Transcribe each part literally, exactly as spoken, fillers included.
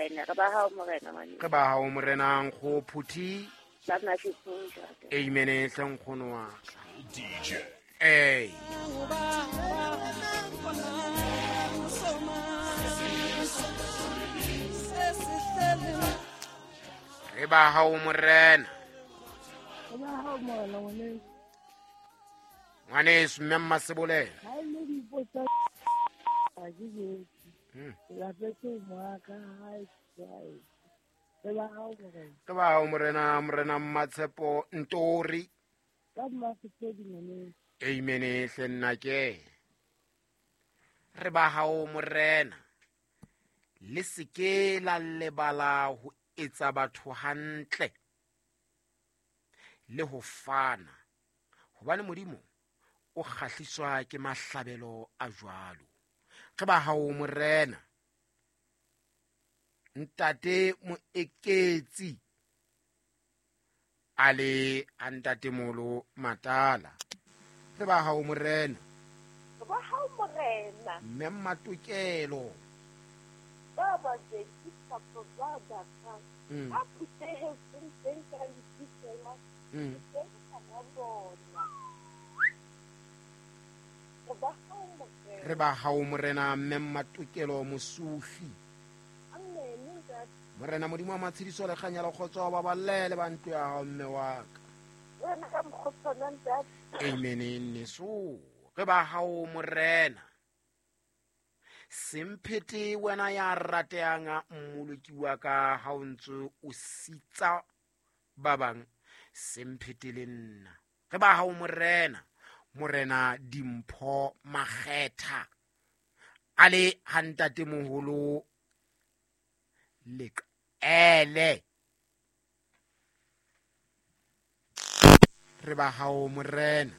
Morena, re ba hao Morena ngwaneso. Re ba hao Morena nkgo Phuthi. Ba Masetlhong ntate. Amen hle nkgono wa ka. D J. Hey. Re ba hao Morena. Re ba hao Morena ngwaneso. Ngwaneso mme Mmasebolela. Ha e le dipotsa ha ke jetse. Lapetse moaka hae hae. Re ba hao Morena. Re ba hao Morena, Morena Mmatshepo Ntori. Ka Mmasepedi ngwaneso. Amen hle nna ke. Re ba hao Morena. Le seke la lebala ho etsa batho hantle le ho fana, hobane Modimo o kgahliswa ke mahlabelo a jwalo. Re ba hao Morena. Ntate Moeketsi a le a ntate Molo Matala. Re ba hao Morena. Re ba hao Morena. Mme Matokelo. Ba ba ke tsa ba ba ka. A phuthehetseng teng ka lebitso Mm. Re ba hao Morena mme Matokelo Mosufi. Morena Modimo wa matshediso le kganya le kgotso ba balele ba ntlo ya hao mme wa ka. Amen neso. Re ba hao Morena. Semphete wena ya ratehang mmoloki wa ka ha o ntse o sitsa ba bang, semphete le nna. Re ba hao Morena. Morena Dimpho Makgetha a le ha ntate moholo Leqele. Re ba hao Morena.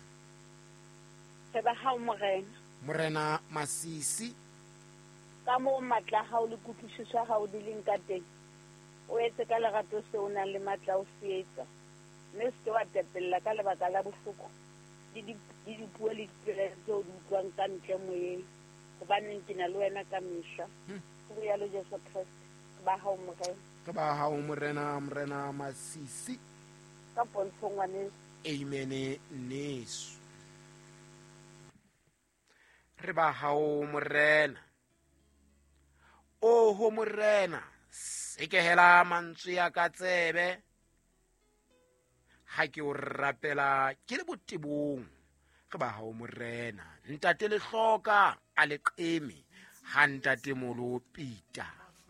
Re ba hao Morena. Morena Masisi. Ka moo matla a hao le kutlwisiso ya hao di leng ka teng, o etse ka lerato seo o nang le matla o se etsa, mme o se ke wa tepella ka lebaka la bohloko le dipuo le dipelaelo tseo o di utlwang ka ntle moyeng, hobaneng ke na le wena ka mehla. Ho rialo Jesu Kreste. Re ba hao Morena. Re ba hao Morena, Morena Masisi. Ka pontsho ngwaneso. Amen neso. Re ba hao Morena. Oho Morena, sekehela mantswe ya ka tsebe ha ke o rapela ke le botebong. Re ba hao Morena. Ntate Lehloka a leqeme ha ntate Molo Pita.